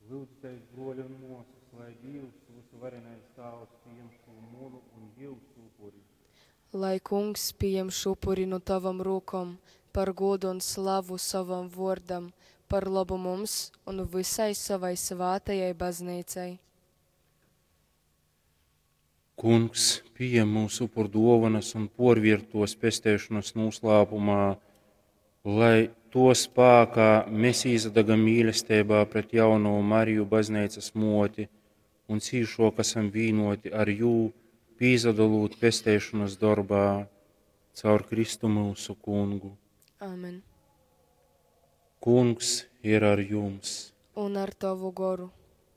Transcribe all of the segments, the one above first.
Lyudzitēs, bruoļi un muosys, lai Dīvs, vysuvarenais Tāvs, pījem šū munu un jiusu upuri. Lai Kungs pījem šū upuri nu tovom rūkom par gūdu un slavu sovam vuordam, par lobu mums un vysai sovai svātajai Bazneicai. Kungs, pījem myusu upurduovanas un puorviert tuos pesteišonas nūslāpumā, lai tuo spākā mēs īsadagam mīlesteibā pret jaunovu Mariju, Bazneicas muoti, un cīšuok asam vīnuoti ar jū, pīsadolūt pesteišonas dorbā caur Kristu myusu Kungu. Āmen. Kungs ir ar jums! Un ar tovu goru.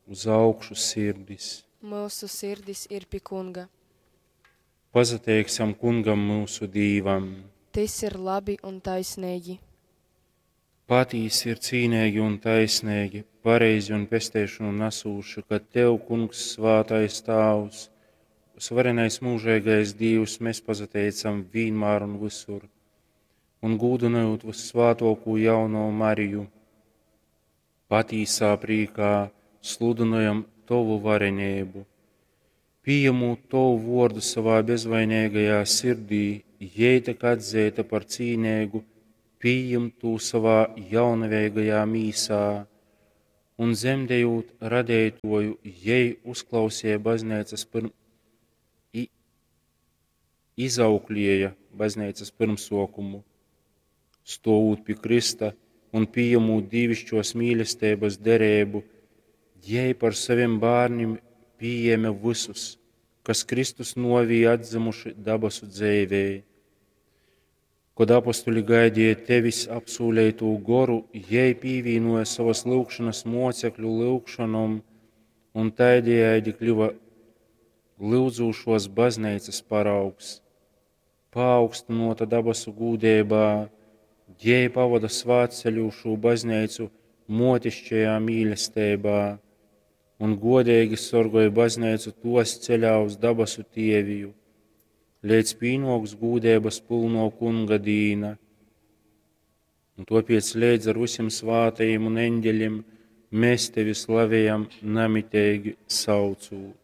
Uz augšu sirdis! Myusu sirdis ir pi Kunga. Pasateiksim Kungam myusu Dīvam! Tys ir labi un taisneigi. Patīsi ir cīneigi un taisneigi, pareizi un pesteišonu nasūši, ka Tev, Kungs, svātais Tāvs, vysuvarenais myužeigais Dīvs, mēs pasateicam vīnmār un vysur, un gūdynojūt vyssvātuokū jaunovu Mariju, patīsā prīkā sludynojam Tovu vareneibu. Pījemūt Tovu vuordu savā bezvaineigajā sirdī, jei tyka atzeita par cīneigu pījimt tū savā jaunaveigajā mīsā, un dzemdejūt Radeituoju, jei uzklauseja bazneicas pyrm... i izauklieja bazneicas pyrmsuokumu. Stuovūt pi krysta un pījemūt dīviškuos mīlesteibys dereibu, jei par sovim bārnim pījēme vysus, kas Kristus nuovī atdzymuši dabasu dzeivei. Kod apostuļi gaideja Tevis apsūleitū Goru, jei pīvīnuoja sovys lyugšonys muocekļu lyugšonom un taidejaidi kliva lyudzūšuos Bazneicys paraugs. Paaugstynuota dabasu gūdeibā, jei pavoda svātceļūšū Bazneicu muotiškajā mīlesteibā un guodeigi sorgoj Bazneicu tuos ceļā uz dabasu Tieviju, leidz pīnuoks gūdeibys pylnuo Kunga dīna. Un tuopiec leidz ar vysim svātajim un eņgelim mēs Tevi slavejam namiteigi saucūt.